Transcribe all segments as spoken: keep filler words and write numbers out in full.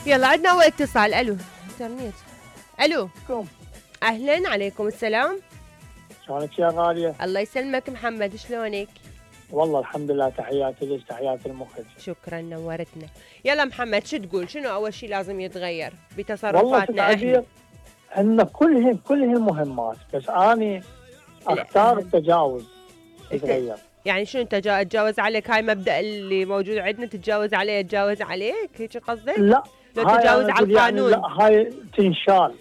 يلا عندنا اول اتصال. الو انترنت. الو كم. اهلا، عليكم السلام. شلونك يا غالية؟ الله يسلمك محمد، شلونك؟ والله الحمد لله، تحياتي لك تحياتي المخرج. شكرا، نورتنا. يلا محمد، شو تقول؟ شنو اول شيء لازم يتغير والله بتصرفاتنا احنا؟ ان كلهن كلهن مهمات، بس اني اختار التجاوز يتغير. يعني شنو تجا- تتجاوز عليك؟ هاي مبدأ اللي موجود عندنا، تتجاوز عليه يتجاوز عليك، هيك قصدك؟ لا، لو تجاوز على القانون. يعني لا، هاي تنشال.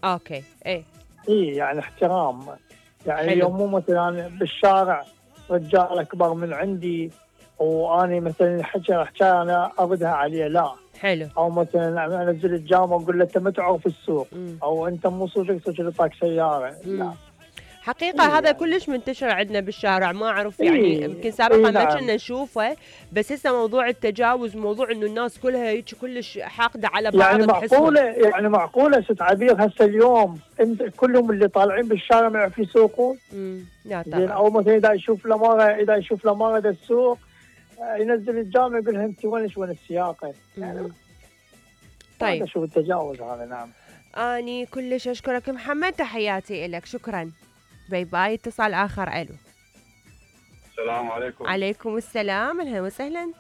اوكي، ايه اي يعني احترام. يعني حلو. اليوم مو مثلا بالشارع رجال اكبر من عندي واني مثلا الحكي حكايه انا اردها عليه، لا. حلو. او مثلا انزل الجامعه واقول له انت ما تعرف السوق، مم. او انت مو صدق صدق لطاك سياره، مم. لا. حقيقة إيه هذا يعني. كلش منتشر عندنا بالشارع، ما أعرف إيه يعني يمكن سابقا إيه ما نعم. كنا نشوفه، بس هسه موضوع التجاوز، موضوع إنه الناس كلها هيك كلش حاقدة على بعض. يعني معقولة يعني معقولة ست عبير هسه اليوم انت كلهم اللي طالعين بالشارع ما يعرفوا يسوقون؟ امم لا زين، طبعا. او مثلا اذا يشوف لمارة اذا يشوف لمارة دا السوق ينزل الجامع يقول لها انت وين وين السياقة؟ يعني طيب هذا شو التجاوز هذا. نعم. اني كلش اشكرك محمد، تحياتي لك، شكرا. باي باي. اتصال اخر. الو. السلام عليكم. عليكم السلام، اهلا وسهلا.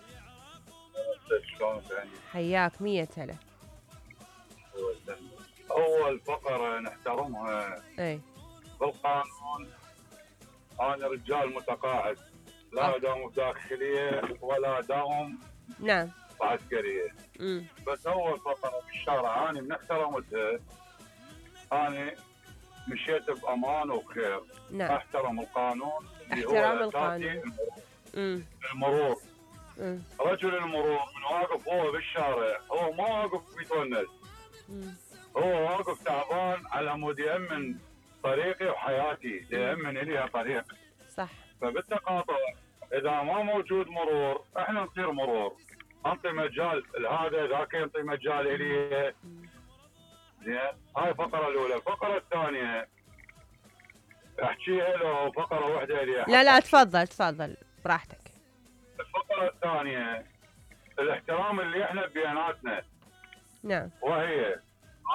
شلونك؟ حياك مية هلا. اول فقره نحترمها اي بالقانون، انا رجال متقاعد، لا داوم بداخليه ولا داوم نعم عسكريه. امم بس اول فقره بالشارع انا من احترمتها، انا مشيت بامان وبخير. نعم. احترم القانون اللي احترام هو القانون. امم المرور. امم رجل المرور من واقف هو بالشارع، هو ما واقف بيتونس، هو واقف تعبان على مود يأمن طريقي وحياتي، يأمن لي طريقي. صح. فبالتقاطع اذا ما موجود مرور احنا نصير مرور، انطي مجال لهذا ذاك ينطي مجال الي. زين، هاي الفقره الاولى. الفقره الثانيه احكيها لو فقره واحده الي. لا لا تفضل تفضل براحتك. الفقره الثانيه الاحترام اللي احنا بيناتنا. نعم. وهي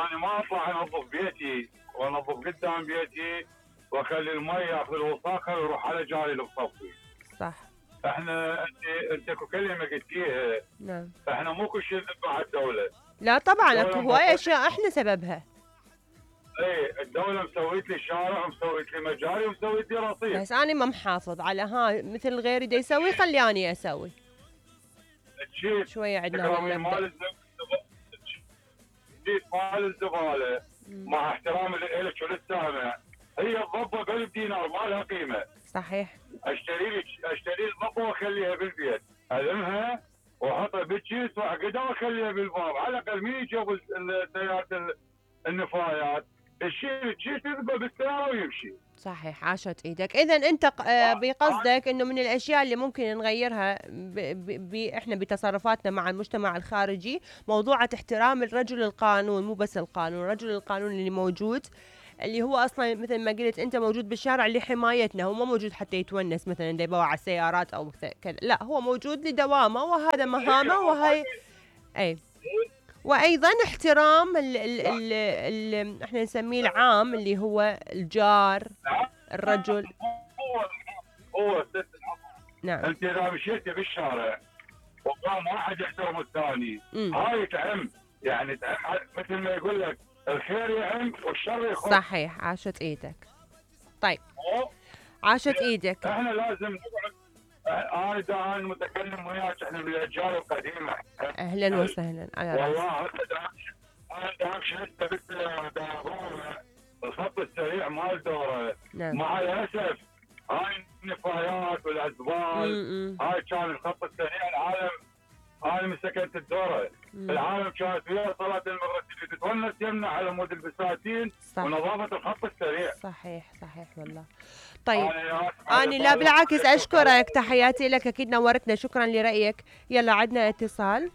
انا ما اطلع انظف بيتي وانظف قدام بيتي واخلي المي ياخذ الوساخه ويروح على جاري اللي بصفي. صح. احنا انت انت كلمه قلتيها. نعم. احنا مو كل شيء نذبح على الدوله. لا طبعا اكو هواي اشياء احنا سببها. اي الدوله مسويت لي شارع ومسويت لي مجاري ومسويت لي رصيف، بس انا ما محافظ على هاي مثل غيري دا يسوي، خلياني اسوي. شويه عندنا مال مال الزباله مع احترامي لك وللسامع، هي الضبه بألف دينار ما لها قيمه. صحيح. اشتري لي اشتري لي الضبه واخليها بالبيت، المها واحطها بالكيس واعقدها واخليها بالباب، على الاقل مين يجيب السيارات النفايات الشيء الكيس يذبه بالسياره ويمشي. صحيح، عاشت ايدك. اذا انت بقصدك انه من الاشياء اللي ممكن نغيرها ب ب ب احنا بتصرفاتنا مع المجتمع الخارجي موضوع احترام الرجل القانون، مو بس القانون، رجل القانون اللي موجود، اللي هو اصلا مثل ما قلت انت موجود بالشارع لحمايتنا، هو ما موجود حتى يتونس مثلا دا يبوع على السيارات او كذا، لا هو موجود لدوامه وهذا مهامه وهي. اي وايضا احترام ال ال ال ال احنا نسميه العام اللي هو الجار الرجل. هو هو ست. نعم. انت اذا مشيتي بالشارع وقام واحد يحترم الثاني، هاي تعم، يعني تعم مثل ما يقول لك الخير يعم والشر يخف. صحيح، عاشت ايدك. طيب عاشت ايدك. احنا لازم نقعد. انا دا انا متكلم وياك، احنا من الاجيال القديمه. اهلا وسهلا على راسي. والله انا دا امشي هسه الخط السريع مال دوره. نعم. مع الاسف هاي النفايات والازبال، هاي كان الخط السريع. العالم انا من سكنت الدوره، العالم كانت فيها صلاه المغرب تتونس يمنع على مود البساتين ونظافه الخط السريع. صحيح صحيح والله. طيب أنا لا بالعكس أشكرك، تحياتي لك، أكيد نورتنا، شكرا لرأيك. يلا عدنا اتصال.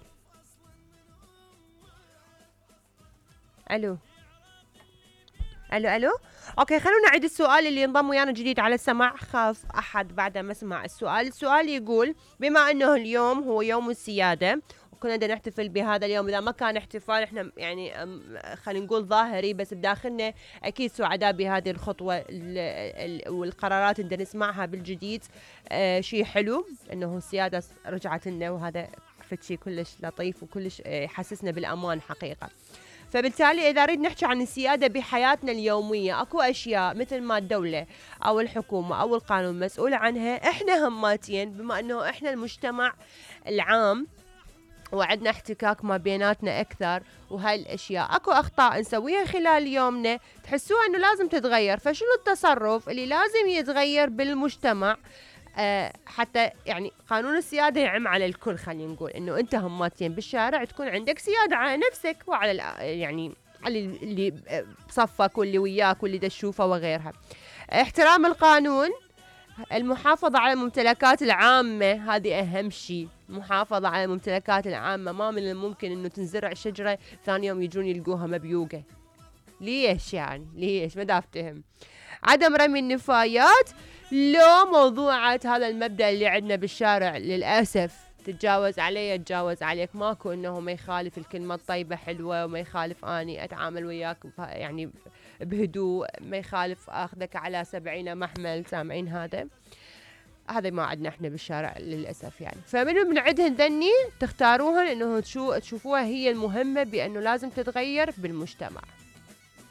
ألو ألو ألو أوكي، خلونا نعيد السؤال اللي انضم ويانا جديد على السماع، خاف أحد بعد ما سمع السؤال. السؤال يقول بما أنه اليوم هو يوم السيادة كنا بدنا نحتفل بهذا اليوم، اذا ما كان احتفال احنا يعني خلينا نقول ظاهري، بس بداخلنا اكيد سعداء بهذه الخطوه والقرارات اللي نسمعها بالجديد. آه شيء حلو انه السياده رجعت لنا، وهذا شيء كلش لطيف وكلش يحسسنا بالامان حقيقه. فبالتالي إذا نريد نحكي عن السيادة بحياتنا اليومية، أكو أشياء مثل ما الدولة أو الحكومة أو القانون مسؤول عنها، إحنا هماتين بما أنه إحنا المجتمع العام وعندنا احتكاك ما بيناتنا أكثر، وهاي الأشياء أكو أخطاء نسويها خلال يومنا تحسوها أنه لازم تتغير. فشنو التصرف اللي لازم يتغير بالمجتمع أه حتى يعني قانون السيادة يعم على الكل؟ خلينا نقول انه انت هماتين بالشارع تكون عندك سيادة على نفسك وعلى يعني على اللي بصفك واللي وياك واللي تشوفه وغيرها. احترام القانون، المحافظة على الممتلكات العامة، هذه اهم شيء، محافظة على الممتلكات العامة. ما من الممكن انه تنزرع شجرة ثاني يوم يجون يلقوها مبيوقة، ليش يعني ليش؟ ما دا افتهم. عدم رمي النفايات، لو موضوعات هذا المبدأ اللي عندنا بالشارع للأسف تتجاوز علي تتجاوز عليك، ماكو انه ما يخالف الكلمة الطيبة حلوة، وما يخالف اني اتعامل وياك يعني بهدوء، ما يخالف اخذك على سبعين محمل، سامعين هذا هذا ما عندنا احنا بالشارع للأسف يعني. فمنو بنعدهن ذني تختاروهن انه تشوفوها هي المهمة بانه لازم تتغير بالمجتمع.